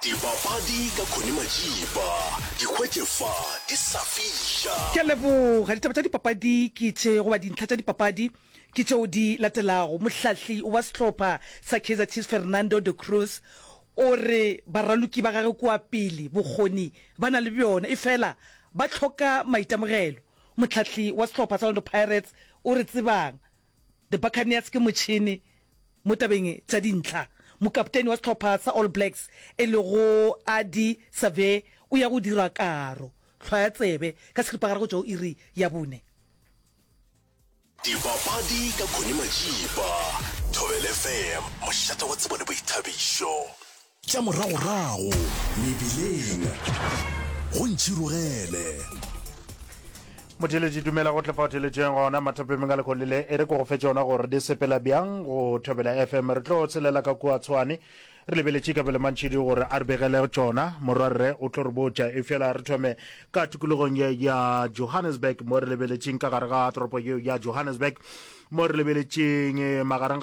Dipapadi ka Connie Majiba, di hwetše fa di sa fiša. Ke a leboga. Ditaba tša dipapadi ke tše, goba dintlha tša dipapadi ke tšeo di latelago. Mohlahli wa sehlopha sa Kaizer Chiefs Fernando de Cruz o re baraloki ba gagwe kua pele bokgoni ba na le bjona efela ba hloka maitemogelo. Mohlahli wa sehlopha sa Orlando Pirates o re tsebang The Buccaneers ke motšhene mo tabeng tša dintlha. Mokapteni wa sehlopha sa All Blacks e lego Ardie Savea o ya go dira karo. Hlwaya tsebe ka seripagare go tšwa go iri ya bone. Dipapadi ka Connie Majiba, Thobela FM, mošate wa tsebo le boithabišo. Tša moragorago mebileng, go ntšhirogele. Motheeletši dumela go tle fa o theeletšeng gona mathapemeng a lekgole le e re ko go fe tšona gore di sepela bjang go Thobela FM. Re tlo tshelela ka kua Tshwane re lebeletše Kabelo Mantšhidi gore a re begele tšona. Morwarre o tlo re botša. Efela re thome ka tikologong ye ya Johannesburg mo re lebeletšeng ka gare ga toropo yeo ya Johannesburg mo re lebeletšeng magareng ga.